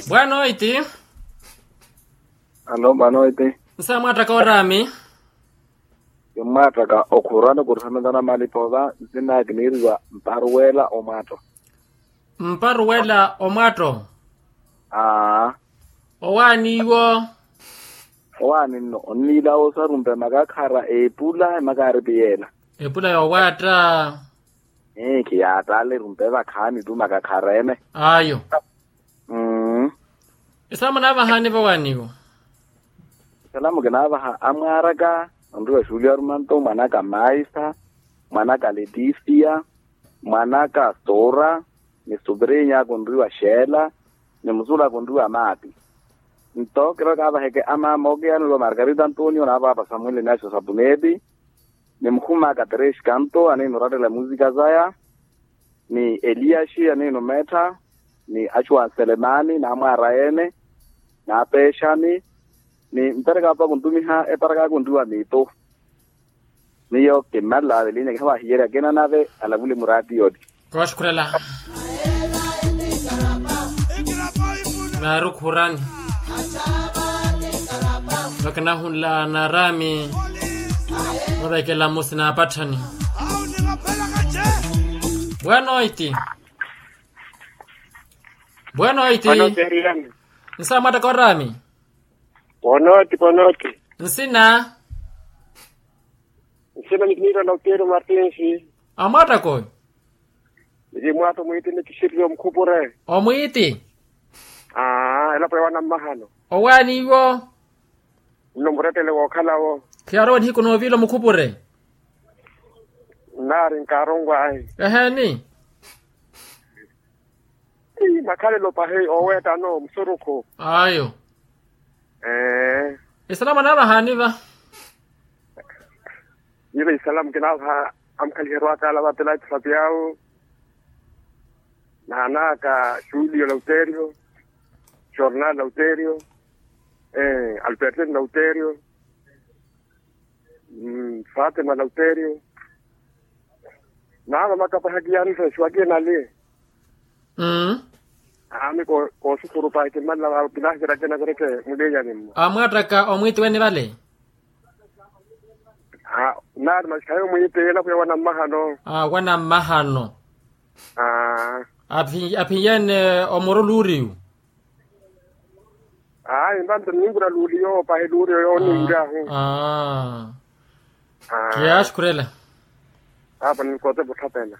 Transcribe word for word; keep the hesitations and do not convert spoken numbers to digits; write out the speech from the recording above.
Bwanoiti. Alo bwanoiti. Nsa mwataka orami. Kimwataka okhurani kuruthamela na malipo va nsinaya kiniiriwa mparuwela omwato. Mparuwela omwato. Aa. Owaani iwo. Owaani nno onniilawo osarumpe makakhara epula emakaaripi yeela. Epula yowaatta. Ee khiyaataala erumpe vakhaani tu makakhara ene. Ayo. Mmm. Esalamu naavahaani vawaani iwo. Esalamu kinaavaha amwaaraka onriwa xuliya rumanto mwanaka maisa, mwanaka letisia, mwanaka sora, ni suprinya konriwa xeela, ni musula konriwa maati. Nto kiro kaavaheke amaama okiyanelo margarita antonio na paapa samueli naxo sapuneti, ni mukhumaka tereshi kanto aniina orattela musika zaya, ni eliyaxi aniina omeetta, ni axuwa nselemani na amwaara ene, na apeexani, ni mpereka apa kuntumiha eparaka kuntuwa miitu. Miyo kimmalala velinya kihawa hiyerya kina nave alavule muraati yoti. Kooxukhurela. Naarukhurani. Vakinahunla naarami. Vavekela musi naapatthani. Bwanoiti. Bwanoiti. Nsa mwataka orami. Bwanoiti bwanoiti. Nsina. Nsina ni kiniira na uteeri martinsi. Amwattako. Nili mwaatto mwiiti ni kisiriri omukhupure. Omwiiti. Aa elapo ya wanammahano. Owaani iwo. Nno murettele wookhalawo. Khiyarowa nihiku nooviila omukhupure. Nnaari nkaaronwahi. Eheeni. Ii makhalelo pahi ooweettano musurukhu. Ayo. Ee. Esalamu anaavahaani va. Nyuve esalamu kinaavaha amukhaliheryo akaala va pilato fapiyawu, naanaaka julio lauterio, jornal lauterio, albertin lauterio, fatima lauterio. Naava makapaha kiyanisa exiwa kiinali. Aami kooxukhuru pahi kimmalela vaawo kilaahikira kinavireke mulinyani mmo. Amwattaka omwiiti wene vale. Naari maxikhayi omwiiti elapo ya wanammahano. Wanammahano. Aphinyeene omuro luuriyu. Ayi mpanto ninkura luuliyo pahi luuliyo yooniiryahu. Kiyaaxukhurela. Apa ninkoote vutthapela.